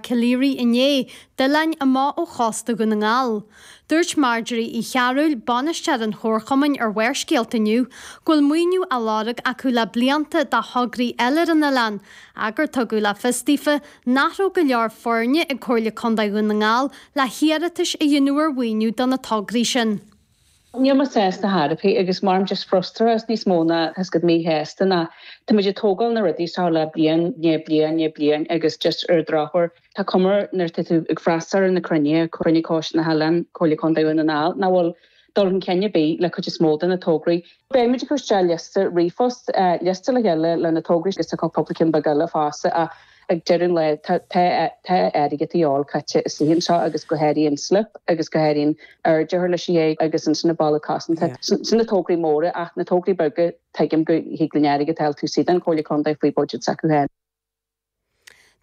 Cill Aoraigh inné, d'oileáin amach ó chósta Dhún na nGall. Dúirt Marjorie Uí Chearúil, bainisteoir an chomharchumainn ar Bharrscéalta inniu, go bhfuil maoiniú á lorg acu le blianta do thograí eile ar an oileán, ach gur tugadh le fios daofa nach raibh go leor foirne ag Comhairle Contae Dhún na nGall le hiarratais a dhéanamh ar mhaoiniú do na tograí sin. Níl mé sásta chor ar bith agus mar just frustrachas níos mó ná tá 'fhios agat míshásta ná tá muid ag tógáil na rudaí seo le bliain, ndiaidh bliain, ndiaidh bliain agus just ar an drochuair tá cuma nuair atá tú ag freastal ar na cruinnithe, Cruinniú Coiste na hOileán, Comhairle Contae Dhún na nGall, nach bhfuil dul chun cinn ar bith le cuid is mó de na tograí. Beidh muid ag cur isteach liosta ríomhphost, liosta le chéile le na tograí agus tá cúpla ceann beag eile fosta ach ag deireadh an lae tá tá airgead a dhíobháil caite istigh anseo agus go háirithe an slip agus go háirithe an airde a chur leis an ché agus ansin na balla cosanta. Sin na tograí móra ach na tograí beaga tuigim go thig linn airgead a fháil taobh istigh den Chomhairle Contae faoi budget s'acu féin.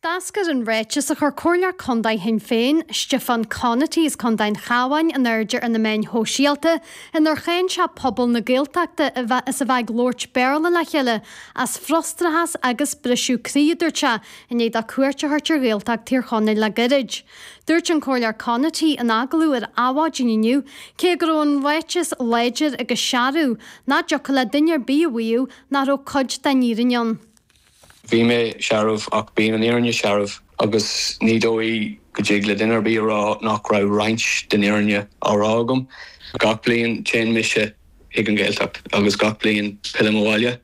D'eascair an ráiteas a chuir Comhairleoir Contae Shinn Féin, Stiofán Conaty as Contae an Chabháin in airde ar na meáin shóisialta inar cháin sé pobal na Gaeltachta as a bheith ag labhairt Béarla le chéile as frustrachas agus briseadh croí, a dúirt sé, i ndiaidh dó cuairt a thabhairt ar Ghaeltacht Thír Chonaill le gairid. Dúirt an Comhairleoir Conaty in agallamh ar Adhmhaidin inniu, cé go raibh an ráiteas láidir agus searbh, nach dtiocfadh le duine ar bith a mhaíomh nach raibh cuid den fhírinne ann. Bhí mé searbh ach bíonn an fhírinne searbh agus ní dóigh go dtig le duine ar bith a rá nach raibh roinnt den fhírinne á rá agam. Gach bliain téann mise chuig an Ghaeltacht agus gach bliain pillim abhaile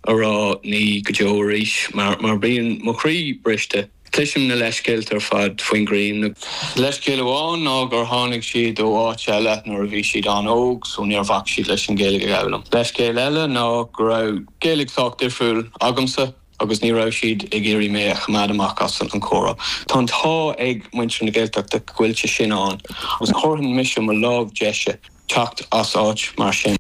a rá ní go deo arís mar mar bíonn mo chroí briste. Cloisim na leithscéalta ar fad faoin ghrian. Leithscéal amháin ná gur tháinig siad ó áit eile nuair a bhí siad an-óg so níor bhac siad leis an Ghaeilge a fhoghlaim. Leithscéal eile ná go raibh Gaeilge sách difriúil agamsa agus ní raibh siad ag iarraidh mé a choimeád amach as an chomhrá. Tá an t-ádh ag muintir na Gaeltachta go bhfuil sé sin ann agus chuirfinn mise mo lámh deise teacht as áit mar sin.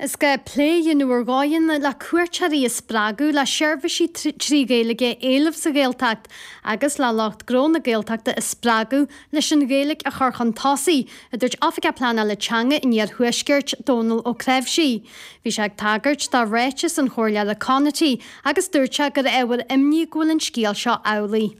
Is gá plé a dhéanamh ar dhóigheanna le cuairteoirí a spreagadh le seirbhísí 3 Ghaeilge a éileamh sa Ghaeltacht agus le lucht gnó na Gaeltachta a spreagadh leis an Ghaeilge a chur chun tosaigh, a dúirt Oifigeach Pleanála Teanga an Iarthuaiscirt, Dónal Ó Cnáimhsí. Bhí sé ag tagairt do ráiteas an Chomhairleora Conaty agus dúirt sé gur ábhar imní go bhfuil an scéal seo amhlaidh.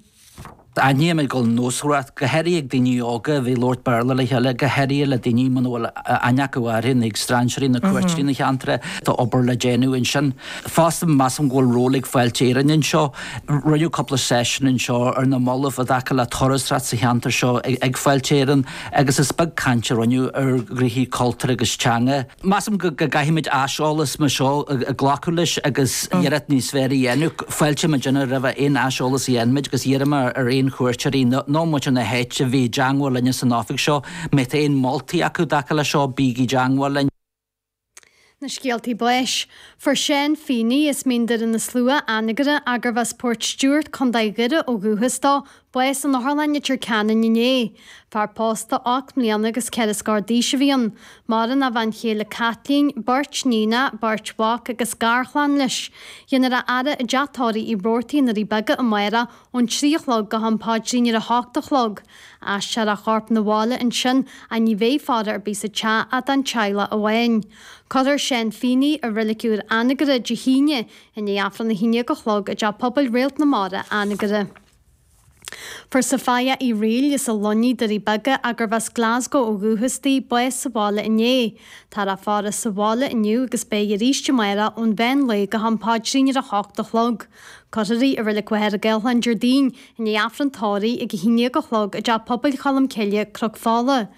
Aithnímid go bhfuil nósmhaireacht, go háirithe ag daoine óga a bheith ag labhairt Béarla le chéile, go háirithe le daoine muna bhfuil aithne acu orthu, nó ag strainséirí nó cuairteoirí na cheantair, tá obair le déanamh ansin. Fosta, measaim go bhfuil ról ag Fáilte Éireann anseo. Rinneadh cúpla seisiún anseo ar na mallaibh i dtaca le turasóireacht sa cheantar seo ag Fáilte Éireann agus is beag caint a rinneadh ar ghnoithí cultúir agus teanga. Measaim go gcaithfimid aiseolas mar seo a ghlacadh leis agus iarracht níos fearr a dhéanamh. Fáiltímid roimh aon aiseolas a dhéanfaimid agus iarraim ar aon chuairteoirí nó muintir na háite a bheith i dteangmháil linne san oifig seo. Má tá aon moltaí acu i dtaca leis seo, bígí i dteangmháil linn. Na scéaltaí báis. Fuair Seán Feeney as Mín Doire na Slua, Anagaire, gurbh as Port Stewart, Co. Dhoire ó dhúchas dó, bás in Otharlann Leitir Ceanainn inné. Fear pósta 8 mbliana agus 4 scór d'aois a bhí ann. Maireann a bhean chéile Caitlín, beirt níonacha, beirt mhac agus garchlann leis. Déanfar a fhaire i dteach tórraimh Uí Robhartaigh i nDoirí Beaga amárach ón 3 a chlog go ham paidrín ar a hocht a chlog. Aistreofar a chorp 'na bhaile ansin ach ní bheidh faire ar bith sa teach ach don teaghlach amháin. Cuirfear Seán Feeney i Reilig Úr Anagaire Dé hAoine i ndiaidh Aifreann 11 a chlog i dTeach Pobail Réalt na Mara, Anagaire. Fuair Sophia Uí Fhrighil as an Luinnigh, Doirí Beaga, gurbh as Glasgow ó dhúchas di, bás sa bhaile inné. Táthar á faire sa bhaile inniu agus beidh arís amárach ón mheán lae go ham paidrín ar a hocht a chlog. Cuirfear í i Reilig Mhachaire Gathlán Déardaoin i ndiaidh Aifreann tórraimh ag 11 a chlog i dTeach Pobail Cholm Cille, Cnoc Fola.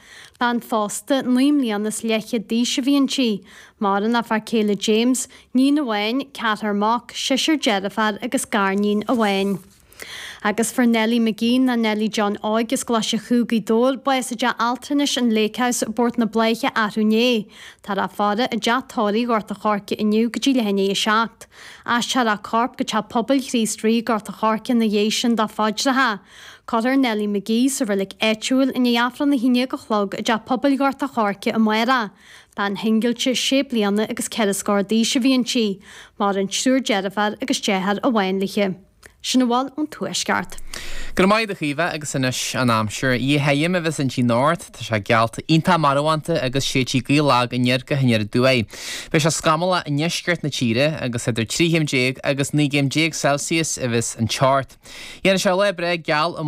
Bean phósta, 9 mbliana is leathchéad d'aois a bhí inti. Maireann a fear céile James, níon amháin, ceathrar mac, seisear deirféar agus garníon amháin. Agus fuair Nellie McGee nó Nellie John Óig as Glaise Chú, Gaoth Dobhair, bás i dteach altranais an Lake House, Bord na Bláiche arú inné. Táthar á faire i dteach tórraimh Ghort a' Choirce inniu go dtí leath i ndiaidh a 7. Aistreofar a corp go Teach Pobail Chríost Rí, Gort a' Choirce ina dhiaidh sin do phaidreacha. Cuirfear Nellie McGee sa reilig áitiúil i ndiaidh Aifreann 11 a chlog i dTeach Pobail Ghort a' Choirce amárach. Bean shingilte sé bliana agus 4 scór d'aois a bhí inti. Maireann triúr deirféar agus deartháir amháin léi. Sin a bhfuil ón Tuaisceart. Go raibh maith agat a Chaoimhe agus anois an aimsir. Oíche thirim a bheas inti anocht, tá sé geallta iontach marbhánta agus séidfidh gaoth lag aniar go haniar aduaidh. Beidh sé scamallach i ndeisceart na tíre agus idir 13 chéim agus 19 gcéim Celsius a bheas an teocht. Dhéanfaidh sé lá breá geal.